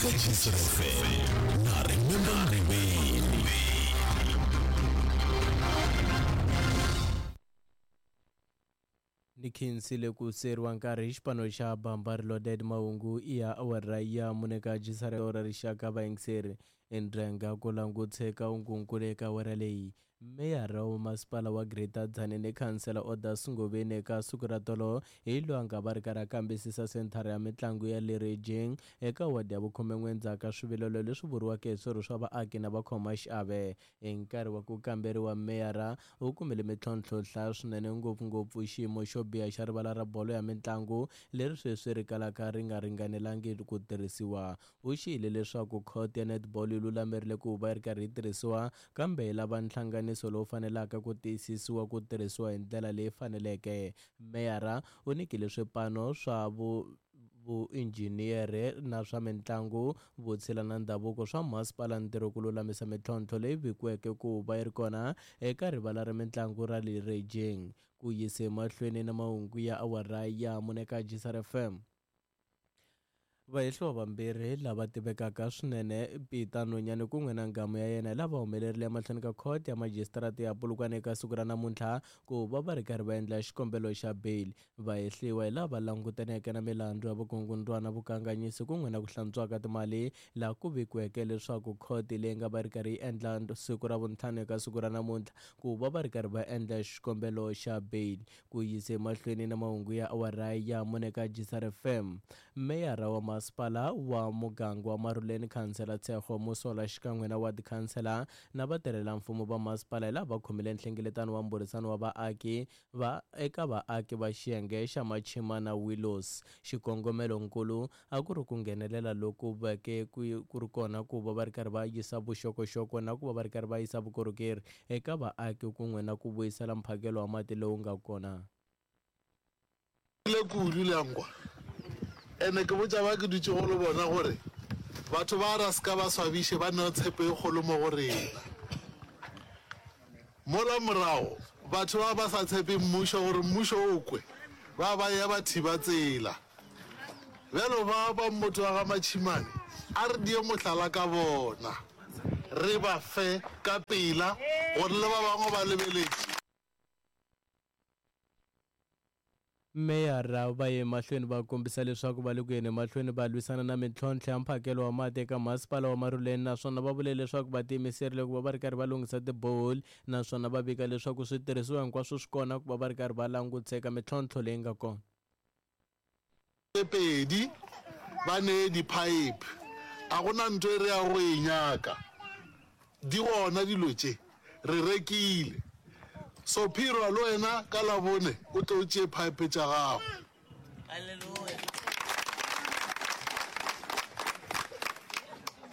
Eka Jisr FM na Remember Mriveni. Ni khensile ku seriwa nkarhi hi xipano xa Bamba Reloaded mahungu ya awara ya mune ka jisarelo ra rixaka vayingiseri endrenga ku languteka ungunkulu eka awara leyi meyara wa masipala wa Greater Tzaneen khansela Odas Ngoveni eka siku ra tolo hi loyi a nga va ri karhi a kambisisa senthara ya mitlangu ya le Rejeng eka wadi ya vukhumen'we endzhaku ka swivilelo leswi vuriweke hi swirho swa vaaki na vakhomaxiave Hi nkarhi wa ku kamberiwa, meyara u kumile mitlhontlho yo hlaya swinene, ngopfu-ngopfu xiyimo xo biha xa rivala ra bolo ya mintlangu leri sweswi ri kalaka ri nga ringanelangi ku tirhisiwa. U xiyile leswaku court ya netball yi lulamerile ku va yi ri karhi yi tirhisiwa, kambe yi lava nhlanganiso lowu fanelaka ku tiyisisiwa ku tirhisiwa hi ndlela leyi faneleke. Meyara u nyikile swipano swa vu vuinjhiniyere na swa mintlangu, vutshila na ndhavuko swa masipala ntirho ku lulamisa mitlhontlho leyi vikiweke ku va yi ri kona eka rivala ra mintlangu ra le Rejeng. Ku yise emahlweni na mahungu ya awara ya mune ka Jisar FM. Vahehliwa vambirhi lava tivekaka swinene, Peter Nonyane kun'we na nghamu ya yena, lava humelerile emahlweni ka khoto ya majisitarata ya Polokwane eka siku ra namuntlha ku va va ri karhi va endla xikombelo xa bail. Vahehliwa hi lava langutaneke na milandzu ya vukungundwana, vukanganyisi kun'we na ku hlantswiwa ka timali, laha ku vikiweke leswaku khoti leyi nga va ri karhi yi endla siku ra vuntlhanu eka siku ra namuntlha ku va va ri karhi va endla xikombelo xa bail. Ku yise emahlweni na mahungu ya awara ya mune ka Jisar FM, meyara wa masipala wa muganga wa Maruleni Khansela Tshego Mosola xikan'we na ward khansela na vatirhelamfumo va masipala hi lava va khomile nhlengeletano wa mbhurisano wa vaaki va eka vaaki va xiyenge xa Machima na Willows. Xikongomelo-nkulu a ku ri ku nghenelela loku veke ku ku ri kona ku va va ri karhi va yisa vuxokoxoko na ku va va ri karhi va yisa vukorhokeri eka vaaki kun'we na ku vuyisela mphakelo wa mati lowu nga kona. Le kudu le a nkwa. Ene ke botša ba ke dutšego le bona gore batho ba ra se ka ba swabiše ba neo tshepo e kgolo mo go rena. Mola morago batho ba ba sa tshepe mmušo gore mmušo o kwe, ba ba eya ba thiba tsela. Bjalo ba ba mmoto wa ga Matšhimane a re die mohlala ka bona, re ba fe ka pela gore le ba bangwe ba lebeletše. Meyara va ye emahlweni va kombisa leswaku va le ku yeni emahlweni va lwisana na mintlhontlho ya mphakelo wa mati eka masipala wa Maruleni naswona va vule leswaku va tiyimiserile ku va va ri karhi va lunghisa tiboholi naswona va vika leswaku switirhisiwa hinkwaswo swi kona ku va va ri karhi va langutisa mintlhontlho leyi nga kona. Tše pedi ba nee diphaephe. A go na ntho e re yago go e nyaka. Di gona dilo tše. Re rekile. So Phirwa le wena ka Labone o tle o tšee phaephe tša gago.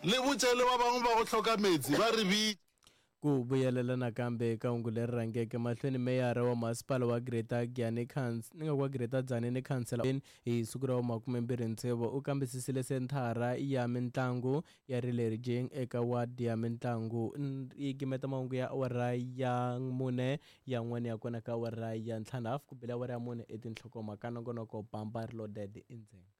Le botše le ba bangwe ba go hloka meetse ba re bitše. Ku vuyelela nakambe eka hungu leri rhangeke mahlweni, meyara wa masipala wa Greater Giyani ni nga ku wa Greater Tzaneen Khansela hi siku ra vu 26 u kambisisile senthara ya mintlangu ya Rilerjeng eka wadi ya mintlangu. Yi gimeta mahungu ya awara ya mune yan'wana ya kona ka awara ya ntlhanu hafu ku bile awara ya mune i tinhlokomhaka nongonoko bamba reloaded endzeni.